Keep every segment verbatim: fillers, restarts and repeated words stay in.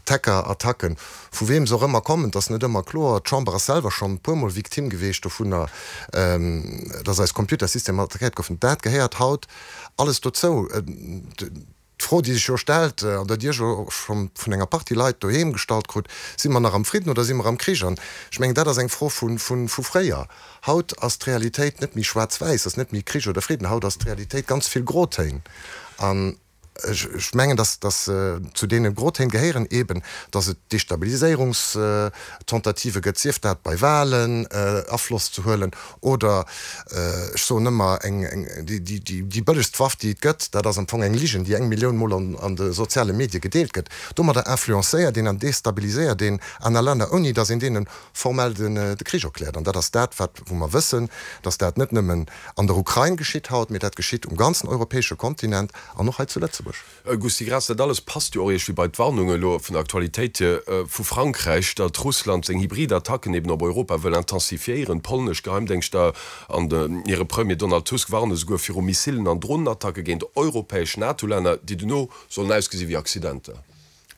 D'Hacker-Attacken, vu weem se och ëmmer kommen, dat ass net ëmmer kloer. D'Chamber ass selwer schonn e puermol Victime geweecht dovunner, dass eis Computersystemer attackéiert goufen. Dat gehéiert haut alles dozou. D'Fro, déi sech jo stellt, an déi Dir jo scho vun enger Partie Leit doheem gestallt krut, Si mer nach am Fridden oder si mer am Krich? An ech mengen, dat ass eng Fro vu fréier. Haut ass d'Realitéit net méi schwaarz-wäiss, ass net méi Krich oder Fridden. Haut ass d'Realitéit ganz vill Grotéin. An ech mengen, dass zu deene Grotéin gehéieren eeben, dass et Destabiliséierungstentative gëtt, sief dat bei Wahlen Afloss ze huelen oder, ech soen ëmmer, eng, déi bëllegst Waff, déi et gëtt, dat ass am Fong eng Ligen, déi eng Millioun Mol an de soziale Medie gedeelt gëtt. Domadder influencéiert een an destabiliséiert een aner Länner, ouni dass een deene formell de Krich erkläert. An dat ass dat, wat, wou mer wëssen, dass dat net nëmmen an der Ukrain geschitt haut, mee dat geschitt um ganzen europäesche Kontinent an och hei zu Lëtzebuerg. Gusty Graas, dat alles passt jo och iergendwéi bei d'Warnung elo vun der Aktualitéit hier vu Frankräich, datt Russland seng hybrid Attacken eben op Europa wëll intensifiéieren. D'polnesch Geheimdéngschter an hire Premier Donald Tusk warne souguer viru Missilen an Dronenattacke géint europäesch NATO-Länner, déi dono sollen ausgesi wéi Accidenter.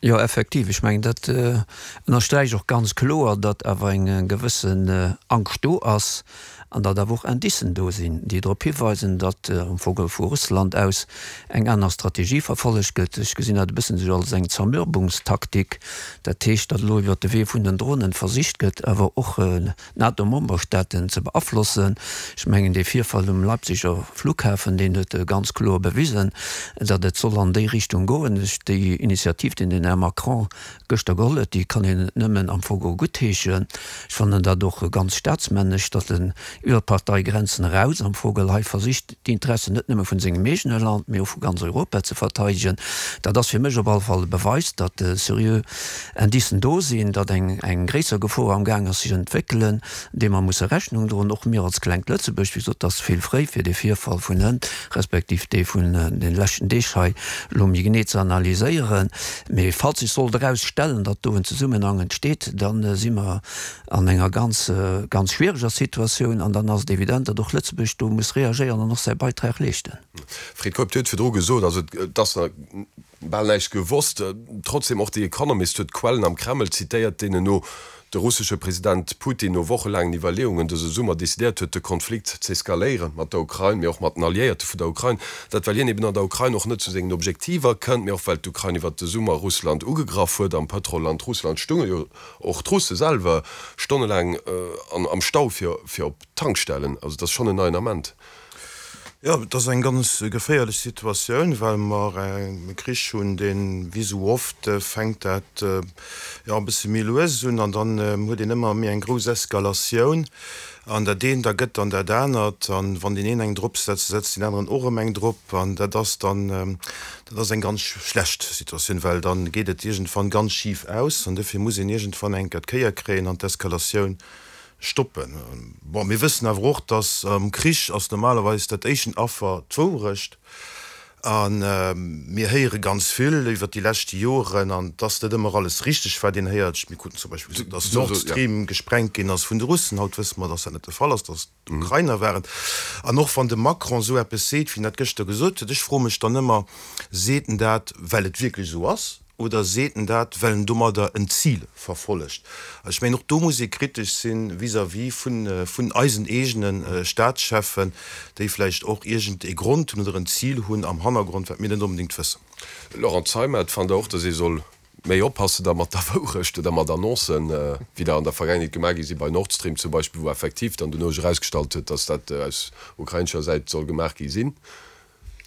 Jo, effektiv. Ech mengen, dat ënnersträicht och ganz kloer, datt awer eng gewëssen Angscht do ass an datt awer och Indicen do sinn, déi drop hiweisen, datt am Fong vu Russland aus eng aner Strategie verfollegt gëtt. Ech gesinn dat e bëssen esou als eng Zermürbungstaktik. Dat heescht, datt elo iwwert de Wee vun den Dronen versicht gëtt, awer och d'NATO-Memberstaaten ze beaflossen. Ech mengen, dee Virfall um Leipziger Flughafen, deen huet ganz kloer bewisen, datt et soll an déi Richtung goen. Déi Initiativ, déi den Här Macron gëschter geholl huet, déi kann een nëmmen am Fong guttheeschen. Ech fannen dat och ganz staatsmännesch, datt en iwwer d'Parteigrenzen eraus am Fong hei versicht, d'Interessen net nëmme vun sengem eegene Land, mee och vu ganz Europa ze verteidegen. Dat ass fir mech op alle Fall e Beweis, datt seriö Indicen do sinn, datt eng gréisser Gefor amgaang ass sech entwéckelen, deem mer musse Rechnung droen, och mir als klengt Lëtzebuerg. Wéi gesot, et ass vill fréi fir dee Virfall vun hënt, respektiv dee vun de leschten Deeg hei elo méi genee ze analyséieren. Mee falls sech sollt erausstellen, datt do en Zesummenhang entsteet, da si mer an enger ganz, ganz schwiereger Situatioun an dann ass et evident, datt och Lëtzebuerg do muss reagéieren an och säi Beitrag leeschten. Fred Keup, Dir hutt virdru gesot, also et ass nach bal näischt gewosst. Trotzdem, och The Economist huet Quellen am Kreml zitéiert, deenen no de russesche President Putin no wochelaangen Iwwerleeungen dëse Summer decidéiert huet, de Konflikt z'eskaléieren, mat der Ukrain, mee och mat den Alliéierte vun der Ukrain. Dat well hien eben an der Ukrain och net zu sengen Objektiver kënnt, mee och well d'Ukrain iwwert de Summer Russland ugegraff huet. Am Pëtrolland Russland stounge jo och d'Russe selwer stonnelaang am Stau fir op d'Tankstellen. Also et ass schonn en neien Ament. Jo, et ass eng ganz geféierlech Situatioun, well mer e Krich hunn, deen, wéi esou oft, fänkt dat jo e bësse méi lues un an dann huet een ëmmer méi eng grouss Eskalatioun an dat eent ergëtt dann dat anert an wann deen een eng drop setzt, da setzt deen aneren och erëm eng drop an dat ass dann, dat ass eng ganz schlecht Situatioun, well dann geet et iergendwann ganz schif aus an dofir muss een iergendwann eng Kéier d'Kéier kréien an d'Eskalatioun stoppen. Bon, mir wëssen awer och, dass am Krich ass normalerweis dat éischten Affer d'Wourecht. A mir héiere ganz vill iwwert déi leschte Joren, an et ass net ëmmer alles richteg, wat een héiert. Mir kruten zum Beispill gesot, dass Nord Stream gesprengt ginn ass vun de Russen. Haut wësse mer, dass dat net de Fall ass, dass et d'Ukrainer waren. An och wann de Macron esou eppes seet, wéi en dat gëschter gesot huet, ech froe mech dann ëmmer, Seet en dat, well et wierklech esou ass? Oder seet en dat, well en domadder en Zil verfollegt? Ech mengen, och do muss ee kritesch si vis-à-vis vun eisen eegene Staatscheffen, déi vläicht och iergend ee Grond hunn oder en Zil hunn am Hannergrond, wat mir net onbedéngt wëssen. Laurent Zeimet, Fannt Der och, datt ee soll méi oppassen da mat der Wourecht oder mat Annoncen, wéi der an der Vergaangenheet gemaach gi si bei Nord Stream zum Beispill, wou effektiv dann dono sech erausgestallt huet, datt dat aus ukrainescher Säit soll gemaach gi sinn?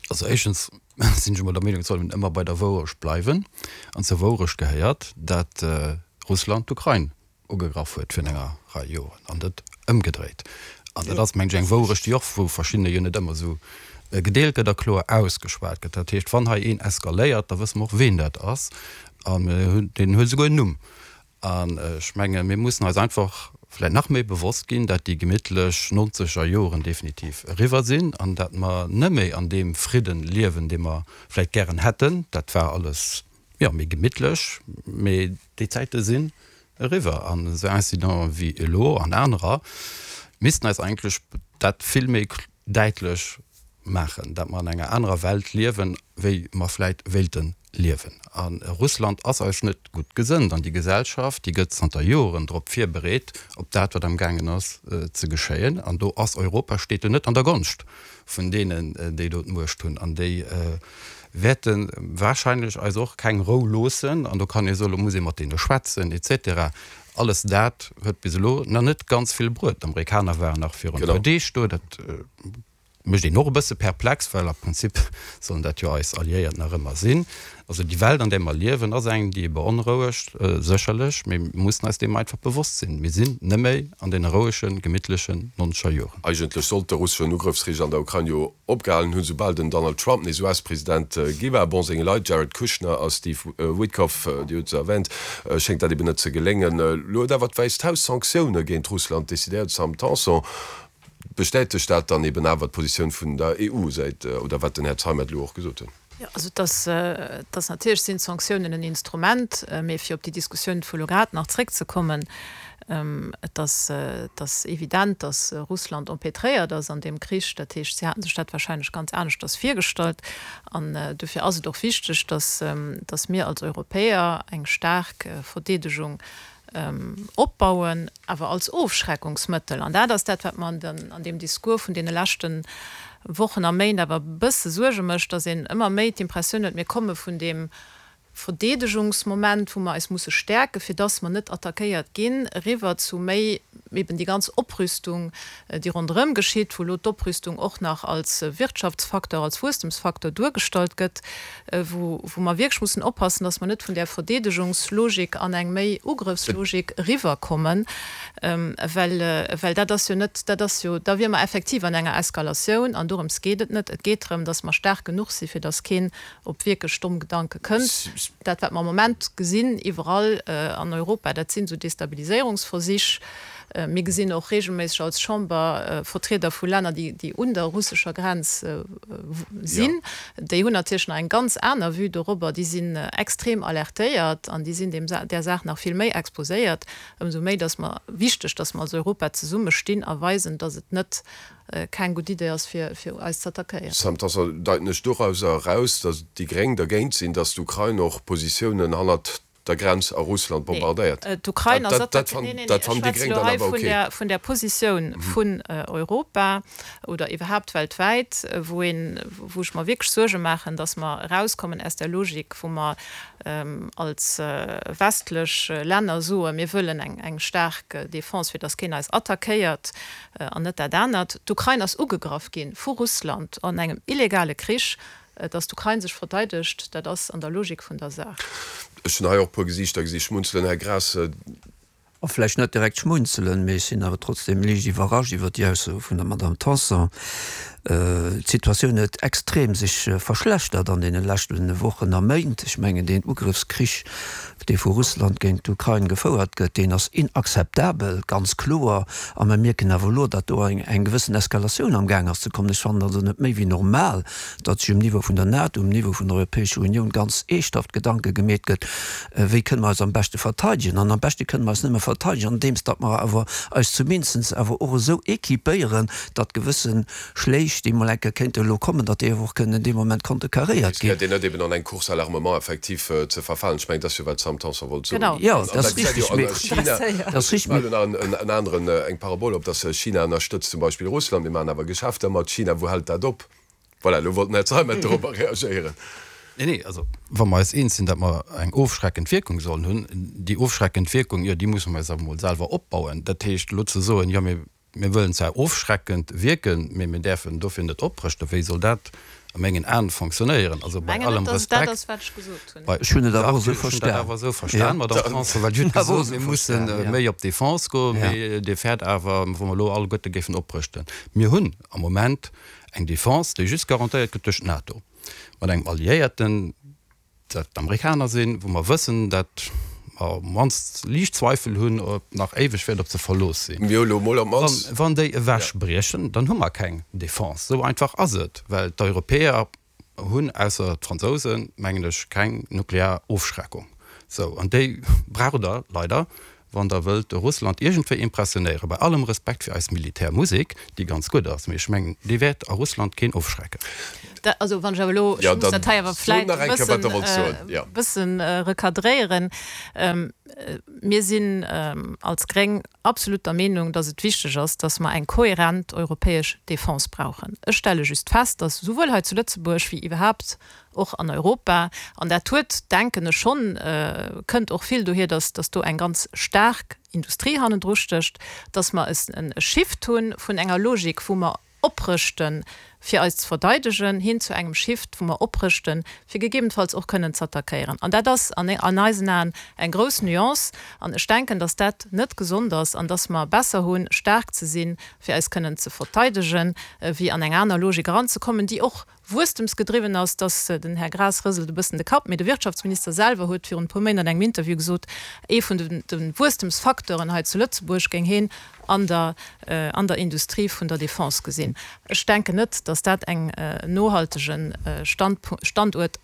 Also éischtens sinn ech emol der Meenung, et soll een ëmmer bei der Wourecht bleiwen. An zur Wourecht gehéiert, dat Russland d'Ukrain ugegraff huet virun enger Rei Joren an net ëmgedréit. An dat ass, mengen ech, eng Wourecht, déi och vu verschiddene jo net ëmmer esou gedeelt gëtt a kloer ausgeschwat gëtt. Dat heescht, wann hei een eskaléiert, da wësse mer och, ween dat ass. An deen huet esouguer en Numm. An ech mengen, mir mussen eis einfach vläicht nach méi bewosst ginn, dat déi gemittlech nonzeger Joren definitiv eriwwer sinn an dat mer net méi an deem Fridden liewen, dee mer vläicht gären hätten. Dat war alles, jo, méi gemittlech, mee déi Zäite sinn eriwwer. An esou Incidenten wéi elo an anerer missten eis eigentlech dat vill méi däitlech maachen, dat mer an enger anerer Welt liewen, wéi mer vläicht wéilten liewen. A Russland ass eis net gutt gesënnt an déi Gesellschaft, déi gëtt zanter Joren drop virbereet, op dat, wat amgaangen ass ze geschéien. An do ass Europa, steet do net an der Gonscht vun deenen, déi do d'Muecht hunn. An déi wäerte wahrscheinlech eis och keng Rou loossen. An do kann ee soen, lo muss ee mat deene schwätzen et cetera. Alles dat huet bis elo nach net ganz vill bruet. D'Amerikaner waren nach virun e puer Deeg do. Dat mécht een och e bësse perplex, well am Prinzip sollen dat jo eis Alliéiert nach ëmmer sinn. Also déi Welt, an där mer liewen, ass eng, déi beonrouegt, sécherlech, mee mir mussen eis deem einfach bewosst sinn, Mir sinn net méi an deene rouegen, gemittlechen nonzeger Joren. Eigentlech sollt de russeschen Ugrëffskrich an der Ukrain jo opgehalen hunn, soubal den Donald Trump nees U S-President gi war. Bon, senge Leit, Jared Kushner a Steve Witkoff, Dir hutt se erwänt, schéngt dat eben net ze geléngen. Elo huet awer d'Wäisst Haus Sanktioune géint Russland decidéiert. Sam Tanson, bestätegt dat dann eben awer d'Positioun vun der E U säit, oder wat den Här Zeimet elo och gesot huet? Jo, also et ass, et ass natierlech sinn d'Sanktiounen en Instrument, mee fir op déi Diskussioun vu lo grad nach zréckzekommen, et ass, et ass evident, datt Russland empêtréiert ass an deem Krich. Dat heescht, si hate sech dat wahrscheinlech ganz aneschters virgestallt. An dofir ass et och wichteg, datt, datt mir als Europäer eng staark Verdeedegung opbauen, awer als Ofschreckungsmëttel. An dat ass dat, wat mer an deem Discours vun deene leschte Wochen a Méint awer e bësse Suerge mécht, datt een ëmmer méi d'Impressioun huet, mir komme vun deem Verdeedegungsmoment, wou mer eis musse stäerken, fir datt mer net attackéiert ginn, eriwwer zu méi eben déi ganz Oprüstung, déi ronderëm geschitt, wou elo d'Oprüstung och nach als Wirtschaftsfacteur, als Wuesstemsfacteur duergestallt gëtt, wou mer wierklech mussen oppassen, dass mer net vun där Verdeedegungslogik an eng méi Ugrëffslogik eriwwerkommen, well, well dat ass jo net, dat ass jo, da wiere mer effektiv an enger Eskalatioun an dorëms geet et net. Et geet drëm, dass mer staark genuch sinn, fir dass keen op wierklech domm Gedanke kënnt. Dat, wat mer am Moment gesinn iwwerall an Europa, dat sinn esou Destabiliséierungsversich. Mir gesinn och regelméisseg als Chamber Vertrieder vu Länner, déi un der russescher Grenz sinn. Déi hunn natierlech nach eng ganz aner Vue dorobber. Déi sinn extrem alertéiert an déi sinn deem där Saach nach vill méi exposéiert. Ëmsou méi, dass mer wichteg, dass mer als Europa zesummestinn a weisen, dass et net keng gutt Idee ass, fir eis ze attackéieren. Sam Tanson, deiten ech dorauser eraus, datt déi Gréng dergéint sinn, datt d'Ukrain och Positiounen hannert der Grenz a Russland bombardéiert? Nee, d'Ukrain ass attackéiert. Nee, nee, nee, ech schwätze elo hei vun der, vun der Positioun vun Europa oder iwwerhaapt weltwäit, wou een, wou ech mer wierklech Suerge maachen, datt mer erauskommen aus der Logik, wou mer als westlech Länner soen, mir wëllen eng, eng staark Defense, fir datt keen eis attackéiert an net dat anert. D'Ukrain ass ugegraff gi vu Russland an engem illegale Krich. Datt d'Ukrain sech verteidegt, dat ass an der Logik vun der Saach. Ech hunn hei och e puer Gesiichter gesi schmunzelen, Här Graas. A vläicht net direkt schmunzelen, mee ech sinn awer trotzdem liicht iwwerrascht iwwert déi Aussoe vun der Madamm Tanson. D'Situatioun huet extrem sech verschlechtert an deene leschte Wochen a Méint. Ech mengen, deen Ugrëffskrich, dee vu Russland géint d'Ukrain gefouert gëtt, deen ass inakzeptabel, ganz kloer. A mer mierken awer elo, datt do eng gewëssen Eskalatioun amgaang ass ze kommen. Ech fannen also net méi wéi normal, datt sech um Niveau vun der NATO, um Niveau vun der Europäescher Unioun ganz eeschthaft Gedanke gemeet gëtt, wéi kënne mer eis am beschte verteidegen. An am beschte kënne mer eis nëmme verteidegen, andeems datt mer awer eis zumindest awer och esou équipéieren, datt gewësse Schléich, déi mol eng Kéier kéinte elo kommen, datt déi awer och kënnen dee Moment konterkaréiert ginn. Riskéiert een net eben an eng Course à l'armement effektiv ze verfalen? Ech mengen, dat ass jo wat d'Sam Tanson wollt soen. Genau. Jo, dat ass richtig, mee dat ass richtig, mee. Ech maachen elo nach en aneren, eng Parabol op, datt China ënnerstëtzt zum Beispill Russland, mir maachen awer Geschäfter mat China, wou hält dat op? Voilà, elo wollt den Här Zeimet dorobber reagéieren. Nee, nee, also wa mer eis eens sinn, datt mer eng ofschreckend Wierkung sollen hunn, déi ofschreckend Wierkung, jo, déi musse mer eis awer emol selwer opbauen. Dat heescht, elo ze soen, jo, mir, mir wëllen zwar ofschreckend wierken, mee mir däerfen dofir net oprëschten, wéi soll dat a mengen Aen fonctionnéieren? Also Ech bei mengen allem net, datt et dat Respekt, ass, wat ech gesot hunn. bei, Ech hunn et awer dach, och esou ech hunn dat verstan. awer esou verstan, Jo. Madame Tanson, well Dir hutt Ech hunn awer och gesot, esou mir mussen verstan, jo. méi op d'Defense goen, Ja. mee Dir fäert awer, wa mer elo alleguerte géifen oprëschten. Mir hunn am Moment eng Defense, déi just garantéiert gëtt duerch d'NATO, mat engem Alliéierten, dat d'Amerikaner sinn, wou mer wëssen, dat mer op d'mannst liicht Zweifel hunn, ob nach éiweg wäert op se verlooss sinn. Mir hu lo mol op d'mannst. Wann déi ewechbriechen, dann hu mer keng Defense. Esou einfach ass et, well d'Europäer hunn, ausser d'Fransousen, mengen ech, keng nuklear Ofschreckung. Sou, an déi braucht Der leider, wann Der wëllt de Russland iergendwéi impressionéieren, bei allem Respekt fir eis Militärmusek, déi ganz gutt ass, mee ech mengen, déi wäert a Russland keen ofschrecken. Da, also wann ech awer elo, ech muss dat hei awer vläit e bëssen, e bëssen recadréieren. Mir sinn als Gréng absolut der Meenung, dass et wichteg ass, dass mer eng kohärent europäesch Defense brauchen. Ech stelle just fest, dass souwuel hei zu Lëtzebuerg wéi iwwerhaapt och an Europa, an dat huet, denken ech schonn, kënnt och vill dohier, dass dass do eng ganz staark Industrie hannendru stécht, dass mer e Shift hu vun enger Logik, wou mer oprëschten, fir eis ze verdeidegen, hin zu engem Shift, wou mer oprëschten, fir gegebenfalls och kënnen z'attackéieren. An dat ass an eisen Aen eng grouss Nuance. An ech denken, dass dat net gesond ass an dass mer besser hunn, staark ze sinn, fir eis kënnen ze verteidegen, wéi an eng aner Logik eranzekommen, déi och wuesstemsgedriwwen ass. Dass den Här Graas rëselt e bëssen de Kapp, mee de Wirtschaftsminister selwer huet virun e puer Méint an engem Interview gesot, ee vun de Wuesstemsfacteuren hei zu Lëtzebuerg géing heen an der an der Industrie vun der Defense gesinn. Ech denken net, dass dat eng nohaltege Standuert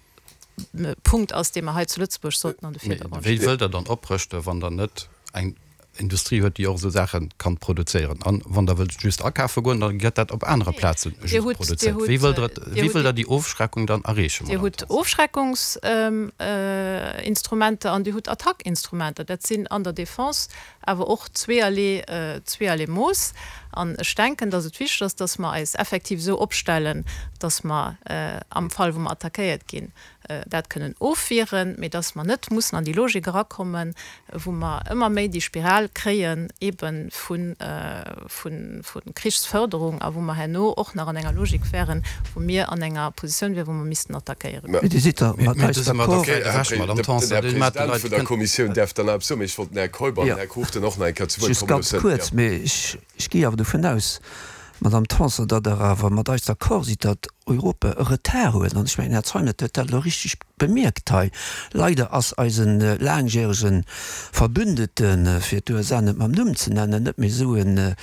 Punkt ass, dee mer hei zu Lëtzebuerg sollten an de Virdergrond stellen. Wéi wëllt Der dann oprëschten, wann Der net eng Industrie huet, déi och esou Saache kann produzéieren? An wann Der wëllt just akafe goen, da gëtt dat op anere Plaze just produzéiert. Wéi wëllt Der, wéi wëllt Der déi Ofschreckung dann erreechen, Dir Madame hutt Tanson? Ofschreckungsinstrumenter an Dir hutt Attackinstrumenter. Dat sinn an der Defense awer och zweeërlee, zweeërlee Mooss. An ech denken, dass et wichteg ass, dass mer eis effektiv esou opstellen, dass mer am Fall, wou mer attackéiert ginn, dat kënnen ofwieren, mee dass mer net mussen an déi Logik erakommen, wou mer ëmmer méi déi Spiral kréien ebe vu Krichsförderung a wou mer herno och nach an enger Logik wären, wou mir an enger Positioun wären, wou mer missten attackéieren. Mee Dir sidd da mat eis d'accord? Den Här President vun der Kommissioun däerf dann eppes soen, mee ech wollt den Här Keup an den Här Cruchten och nach eng Kéier zu Wuert Just komme ganz loossen. kuerz, mee ech gi awer dovun aus, Madame Tanson, datt Der awer mat eis d'accord sidd, datt Europa e Retard huet. An ech mengen, den Här Zeimet huet dat elo richteg bemierkt hei. Leider ass eise laangjärege Verbündeten, fir d'USA net mam Numm ze nennen, net méi esou e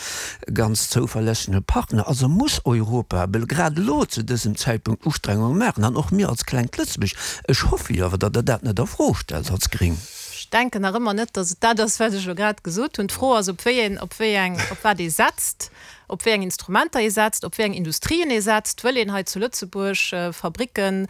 ganz zouverlässege Partner. Also muss Europa bel grad elo zu dësem Zäitpunkt Ustrengunge maachen, an och mir als klengt Lëtzebuerg. Ech hoffe jo awer, datt Der dat net a Fro stellt als Gréng. Ech denken nach ëmmer net, datt et dat ass, wat ech elo grad gesot hunn. D'Fro ass, op wéi een, op wéi eng, op wat ee setzt, op wéi eng Instrumenter ee setzt, op wéi eng Industrien ee setzt. Wëll een hei zu Lëtzebuerg Fabricken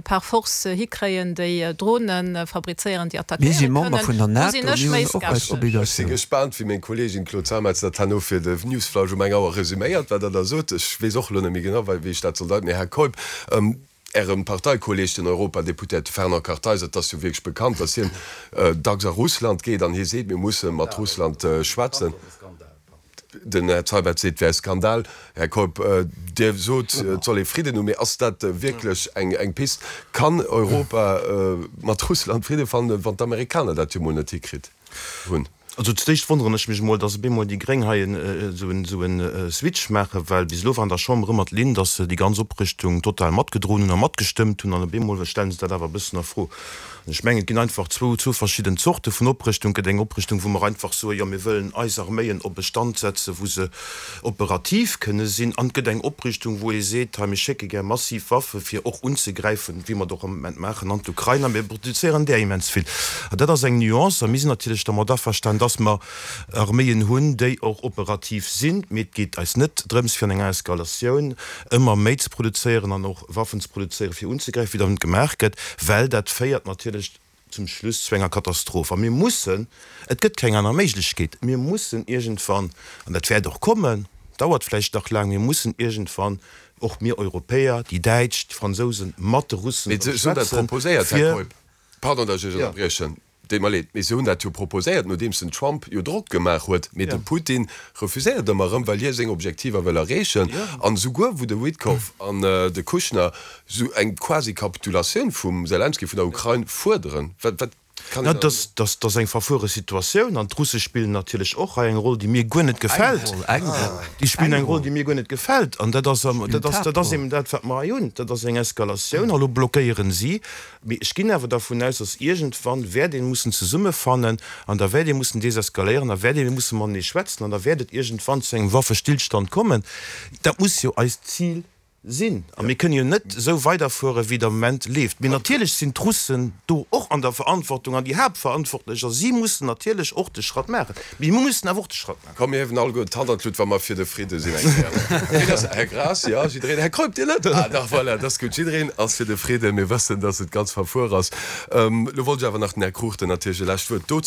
par force hikréien, déi Drone fabrizéieren, déi Mir attackéiere si Member kënnen? vun der Do NATO, sinn ech mir méi hunn och eis skeptesch. Ech si Obligatioun. gespaant, wéi meng Kolleegin Claude Zeimetz dat herno fir de Newsflash um eng Auer resuméiert, wat Der da sot. Ech weess och elo net méi genau, wéi ech dat soll deiten. Mee Här Keup, Ärem Parteikolleeg, den Europadeputéierte Fernand Kartheiser, et ass jo wierklech bekannt, datt hien dacks a Russland geet an hie seet, mir musse mat Russland schwätzen. Den Här Seibert seet, et wär e Skandal. Här Keup, Dir sot, et soll ee Fridden hunn, mee ass dat wierklech eng Pist? Kann Europa mat Russland Fridde fannen, wann d'Amerikaner dat jo mol net hikritt hunn? Also zudéischt wonneren ech mech emol, dass op eemol déi Gréng hei esou e Switch maachen, well bis elo war an der Chamber ëmmer d'Linn, dass se déi ganz Oprëschtung total matgedroen hunn a matgestëmmt hunn, an op eemol stellen se dat awer e bëssen a Fro. An ech mengen, et ginn einfach zwou, zwou verschidden Zorte vun Oprëschtung. Et gëtt eng Oprëschtung, wou mer einfach soen, jo mir wëllen eis Arméien op e Stand setzen, wou se operativ kënne sinn, an et gëtt eng Oprüstung, wou ee seet, hei mir schécke gär massiv Waffe fir och unzegräifen, wéi mer et och am Moment maachen, an d'Ukrain, a mir produzéieren där immens vill. An dat ass eng Nuance. A mir sinn natierlech dermat averstanen, dass mer Arméien hunn, déi och operativ sinn, mee et geet eis net drëms, fir an enger Eskalatioun ëmmer méi ze produzéieren an och Waffen ze produzéieren, fir unzegräifen, wéi dat gemaach gëtt, well dat féiert natierlech zum Schluss zu enger Katastroph. A mir mussen, et gëtt keng aner Méiglechkeet, mir mussen iergendwann, an dat wäert och kommen, dauert vläicht nach laang, mir mussen iergendwann, och mir Europäer, déi Däitsch, d'Fransousen, mat de Russen Mee erëm se hunn dat schwätzen, proposéiert, Här fir. Keup. Pardon, datt ech Iech ënnerbriechen, deet mer leed, mee se hunn dat jo proposéiert, nodeems den Trump jo Drock gemaach huet. Mee de Putin refuséiert ëmmer erëm, well hie seng Objektiver wëll erreechen. An esouguer wou de Witkoff an de Kushner esou eng quasi Kapitulatioun vum Selenskyj, vun der Ukrain fuerderen, wat, wat kann Na, een da. dat ass eng verfuere Situatioun. An d'Russe spillen natierlech och hei eng Roll, déi mir guer net Eng gefält. Roll, eng Roll, Déi spillen eng eng Roll, Roll. déi mir guer net gefält. An dat ass, Spillen dat ass, dat ass d'Haaptroll. eben dat, wat mer hei hunn. Dat ass eng Eskalatioun. A lo blockéieren si. Mee ech ginn awer dervun aus, dass iergendwann wäert ee mussen zesummefannen an da wäert ee mussen deseskaléieren, da wäert ee musse matenee schwätzen an da wäert et iergendwann zu engem Waffestillstand kommen. Dat muss jo eist Zil sinn. A mir kënnen jo net esou weiderfuere wéi et am Moment leeft. Mee natierlech sinn d'Russen do och an der Verantwortung an déi Haaptverantwortlech a si mussen natierlech och de Schratt maachen. Mee mir mussen awer och de Schratt maachen. Komm, mir hiewen alleguer d'Hand an d'Lut, wa mer fir de Fridde sinn eng Kéier. Ween ass? Här Graas, jo, jiddereen. Här Keup, Dir net? Ah dach, voilà, dat ass gutt. Jiddereen ass fir de Fridde. Mir wëssen, dass et ganz verfuer ass. Elo wollt ech awer nach den Här Cruchten natierlech e lescht Wuert dozou.